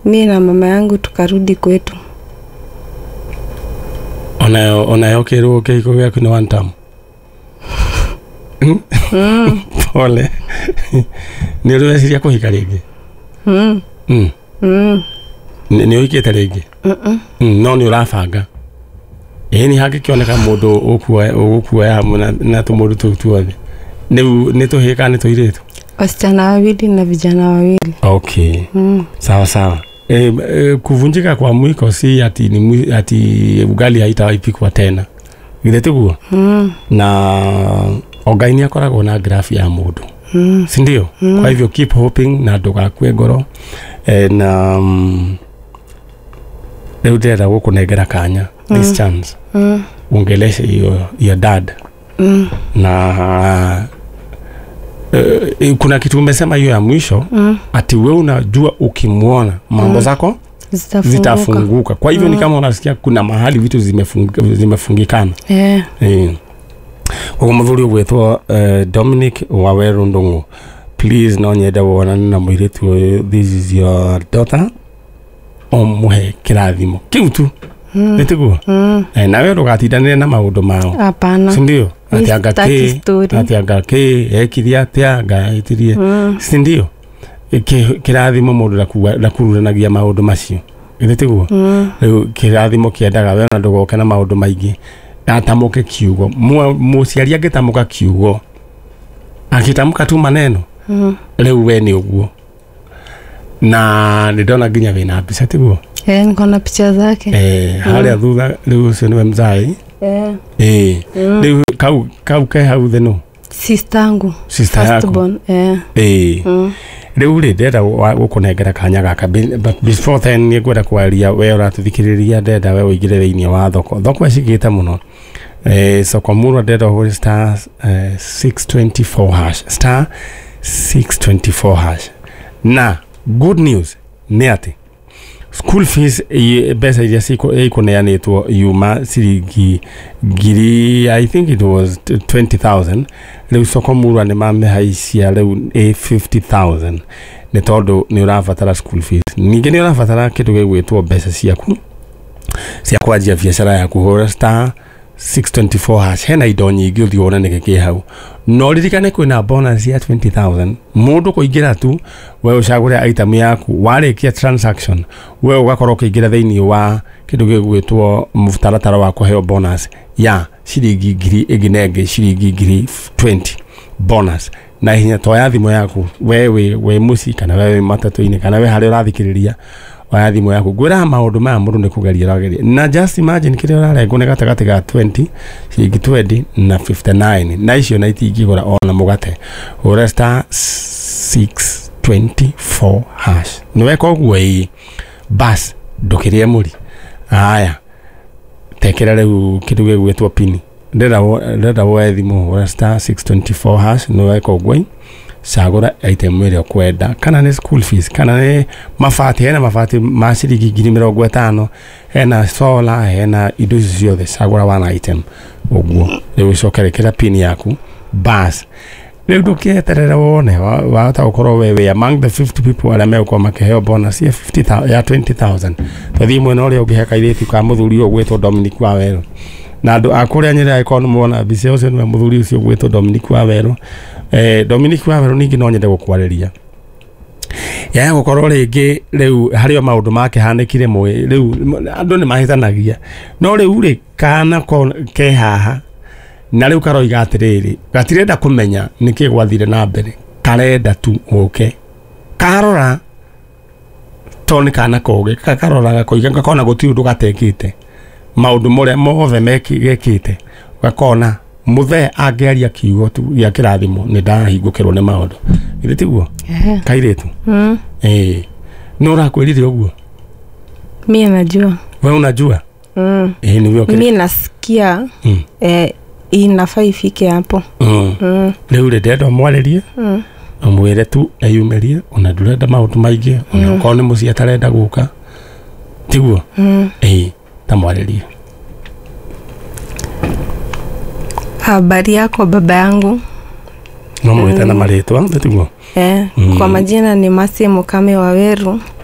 Mi na mama yangu tukarudi kwetu. Onayo kĩrwo kĩhiko gĩaku nĩ one term. Pole. Nĩ ũrĩ weciria kũhika rĩngĩ? Mm. Mm. Nĩ ũhikĩte rĩngĩ? Mm. No nĩ ũrabanga? Ĩĩ, nĩ hangĩkĩoneka mũndũ ũgũkuoya hamwe na tũmũndũ tũu tuothe. Rĩu nĩ tũhĩĩ kana nĩ tũirĩtu? Wasichana wawili na vijana wawili. Okay. Sawa sawa. Kuvunjika kwa mwiko si ati, ati ugali haitaipikwa tena. Githĩ tiguo? Mm. Na o Ngai nĩ akoragwo na graph ya mũndũ. Si ndio? Kwa hivyo keep hoping na ndũgakue ngoro. Na rĩu ndĩrenda gũkũnengera kanya, this chance, uongeleshe your dad. Na kuna kitu umesema hiyo ya mwisho, ati we unajua ukimwona mambo zako zitafunguka. Zitafunguka. Kwa hivyo ni kama unasikia kuna mahali vitu zimefungikana. Eh. Koguo muthuri ũgwĩtwo Dominic Waweru Ndung'u, please, no nyende wonane na mũirĩtu ũyũ. This is your daughter, ũmũhe kĩrathimo kĩu tu. Nĩ tiguo? Mm. Nawe ndũgatindanĩre na maũndũ mao. Hapana. Si ndio? Mi Ati anga sitaki kĩ story. ati anga kĩ ekire atĩa, anga etirie. Si ndio? Kĩrathimo mũndũ ndakururanagia maũndũ macio, githĩ tiguo? Mm. Rĩu kĩrathimo kĩendaga we ona ndũgoke na maũndũ maingĩ, atamũke kiugo. Mũciari angĩtamũka kiugo, akĩtamũka tu maneno, rĩu we nĩ ũguo. Na nĩ ndona nginya wĩna mbica, tiguo? Eh, niko na picha zake. Eh, harĩa thutha rĩu ũcio nĩwe mzai. Eh. Ĩĩ. Rĩu kau ke hau thĩ no Sister yangu. Sister First yaku. born. Eh. Ĩĩ. Rĩu rĩ, ndĩrenda gũkũnengera kanya gaka. But before then, nĩ ngwenda kwaria we ũratũthikĩrĩria. Ndĩrenda we ũingĩre thĩinĩ wa thoko. Thoko ĩcigĩte mũno, soko murwa. Ndĩrenda ũhũre star 624 hash, star 624 hash. Na good news nĩ atĩ school fees, mbeca iria ikũneanĩtwo yuma ciringi ngiri, I think it was 20,000. Rĩu soko murwa nĩ mamĩhaicia rĩu ĩ 50,000, nĩ tondũ nĩ ũrabatara school fees, ningĩ nĩ ũrabatara kĩndũ gĩgwĩtwo mbeca ciaku cia kwanjia biacara yaku. Hũra star 624 hash, hena indo nyingĩ, ũthiĩ wone nĩkĩ kĩ hau. No ririkane kwĩna bonus ya 20,000 mũndũ kũingĩra tu. We ũcagũre item yaku, warĩkia transaction we ũgakorwo ũkĩingĩra thĩinĩ wa kĩndũ gĩgwĩtwo mũtaratara wa kũheo bonus ya ciringi ngiri ĩngĩ na ĩngĩ, ciringi ngiri 20 bonus na hinya. Toya thimũ yaku, we wĩ mũciĩ kana we wĩ matatũ-inĩ kana we harĩa ũrathikĩrĩria, oya thimũ yaku. Ngwĩraga maũndũ maya mũndũ nĩ kũgeria ũrageria, na just imagine kĩrĩa ũrarengwo nĩ gatagatĩ ga 20, ciringi 20 na 59, na icio na itingĩgũra ona mũgate. Hũra star 624 hash. Nĩ weka ũguo, ĩĩ, bas, ndũkĩrĩe mũri. Aya, tekera rĩu kĩndũ gĩgwĩtwo pini. Ndĩrenda woe thimũ, hũra star 624 hash. Nĩ weka ũguo, cagũra item ĩrĩa ũkwenda, kana nĩ school fees kana nĩ mabati. Hena mabati ma ciringi 50,000, hena solar, hena indo icio ciothe. Cagũra one item ũguo. Rĩu ũcoke rĩkĩra pin yaku, bas. Rĩu ndũkĩeterere wone wahota gũkorwo we wĩ among the 50 people arĩa megũkorwo makĩheo bonus ya 50,000, ya 20,000. Twathiĩ mwena ũrĩa ũngĩ, he kairĩtu ka mũthuri ũyũ ũgwĩtwo Dominic Wawerũ, na andũ a kũrĩa Nyĩrĩ, angĩkorwo nĩ muona mbica ũcio nĩwe mũthuri ũcio ũgwĩtwo Dominic Wawerũ. Dominic Wawerũ, ningĩ no nyende gũkwarĩria yaya gũkorwo rĩngĩ rĩu harĩ o maũndũ makĩhanĩkire mwe. Rĩu andũ nĩ mahĩtanagia, no rĩu rĩ, kana ke haha na rĩu karoiga atĩrĩrĩ, gatirenda kũmenya nĩkĩ gwathire na mbere, karenda tu ũke karora, to nĩ kana kogĩ. Karora gakoiga gakona gũtirĩ ũndũ gatekĩte, maũndũ marĩa mothe gekĩte, gakona mũthee angĩaria kiugo tu gĩa kĩrathimo nĩ ndahingũkĩrwo nĩ maũndũ. Githĩ tiguo? Eh. Kairĩtu. Ĩĩ, nĩ ũrakwĩrire ũguo? Mi najua. We unajua? Mm. Ĩĩ, nĩguo. Mi nasikia inafaa ifike hapo. Rĩu rĩ, ndĩrenda ũmwarĩrie, ũmwĩre tu eyumĩrie, ona ndũrenda maũndũ maingĩ, ona okorwo nĩ mũciĩ atarenda gũka, tiguo? Mm. Ĩĩ, tamwarĩrie. Habari yako, baba yangu. No mwĩte na marĩtwa, tiguo? Kwa majina ni Masi Mukame Waweru.